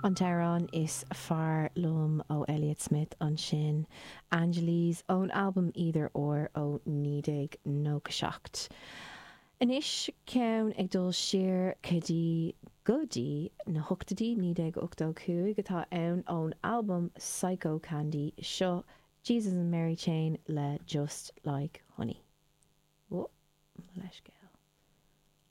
An t-amhrán is fearr liom ó Elliott Smith ansin, Angeles, ón albam Either Or ó 1997. Anois ceann ag dul siar go dtí go dtí na hochtóidí, 1985 atá ann ón albam Psychocandy, seo Jesus and Mary Chain le Just Like Honey. Ó, mo leithscéal.